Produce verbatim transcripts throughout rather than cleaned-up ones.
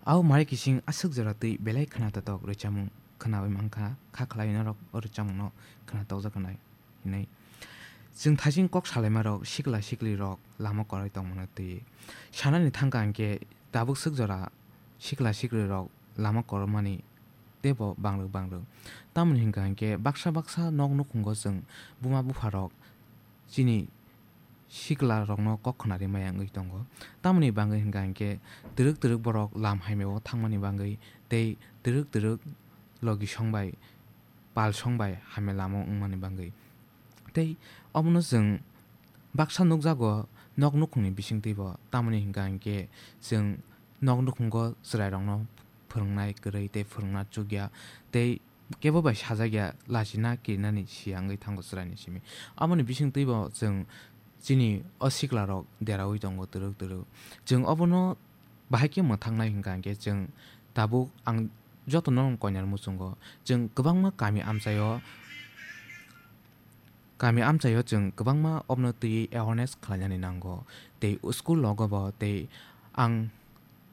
Au mari kising aswk jora twi belai khna tatok rwchapmung khnawi mankha, kha khlai norok o rwchapmungno khna tokjak wngnai hinwi. Chwng thaiching kok salaimarok sikla siklirok lama kwrwi tongmano twi sanani thangkha hinkhe tabuk swk jora sikla siklirok lama kwrwmani teibo bangrwk bangrwk. Tamoni hinkha hinkhe baksa baksa nok nukhungo chwng buma bupharok chini siklarokno kok khna rimaya wngwi tongo. Tamoni bagwi hinkha hinkhe twrwk twrwk borok lam haimao thangmani bagwi tei twrwk twrwk logi song bai pal song bai hamya lama wngmani bagwi. Tei omono chwng baksa nukjago nok nukhungni bisingtwibo, tamoni hinkha hinkhe chwng nok nukhungo chwrairokno phwrwngnai kwrwi tei phwrwngna chukya tei kebo bai sajak ya, lachina kirinani siya wngwi thango chwraini simi. Aboni bisingtwibo chwng chini o siklarok deraui tongo twrwk twrwk. Chwng obono bahai khe mwthaknai hinkha hinkhe chwng tabuk ang jotono koinani muchungo chwng kwbangma kami amchaio, kami amchaio chwng kwbangma obono twiwi awareness khlainani nango. Tei school logobo tei ang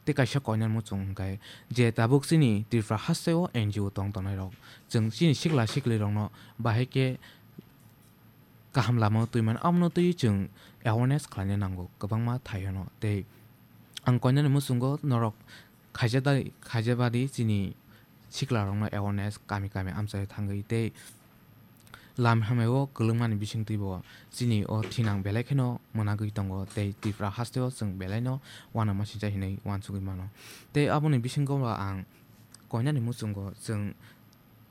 tei kaisa koinani muchung hinkhe je tabuk chini Tripura hasteo N G O tong tongnai rok, chwng chini sikla siklirokno bahai khe kaham lama twi mano, abono twi chwng awareness khlaina nango kwbangma thaiono. Tei ang koinani muchungo norok khaijadai, khaijabadi chini siklarokno awareness kami kami amchai thangwi tei lam hamao kwlwngmani bisingtwibo chini o thinang belai kheno mwnagwi tongo tei Tripura hasteo chwng belaino uanama sincha hinwi uansugwi mano. Tei aboni bisingo bo ang koinani muchungo chwng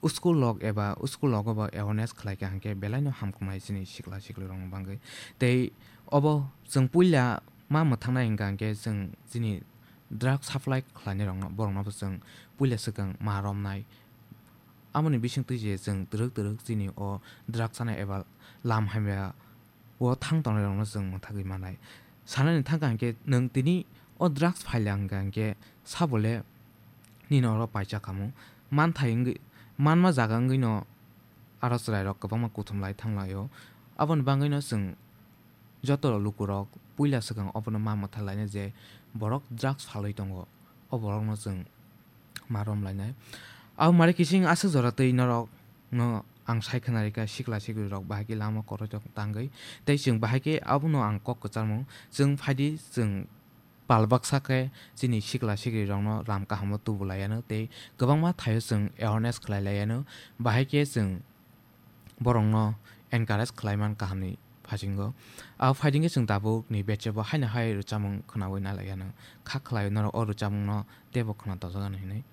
school log eba school logo bo awareness khlai kha hinkhe belaino hamkuknai chini sikla siklirokni bagwi. Tei obo chwng puila ma mwthangnai hinkha hinkhe chwng chini drug supply khlainairokno, borokno bo chwng puila swkang ma romnai. Aboni bisingtwi je chwng twrwk twrwk chini o drug chanai eba lam hamya o thang tongnairokno chwng mwthagwi manai. Sanani thangkha hinkhe nwng tini o drugs phaila hinkha hinkhe sabole nini oro paisa khamu. Manthai wngwi, manma jaga wngwino aro chwrairok kwbangma kuthum lai thanglaio. Aboni bagwino chwng joto lukurok puila swkang obono ma mwthalaina je borok drugs phalwi tongo, o borokno chwng ma romlainai. Abo mari kising aswk jora twi norokno ang sai khna rikha, sikla siklirok bahai khe lama kwrwirok tangwi. Tei chwng bahai khe abono ang kok kwcharmung. Chwng phaidi, chwng pal baksa khe chini sikla siklirokno lam kahamo tubu laiano tei kwbangma thaio chwng awareness khlai laiano. Bahai khe chwng borokno encourage khlai man kahamni phasingo. Abo phaidi khe chwng tabukni batch-o bo haino hai rwchapmung khnaui nai laiano. Kha khlai norok o rwchapmungno teibo khna tojak ano hinwi.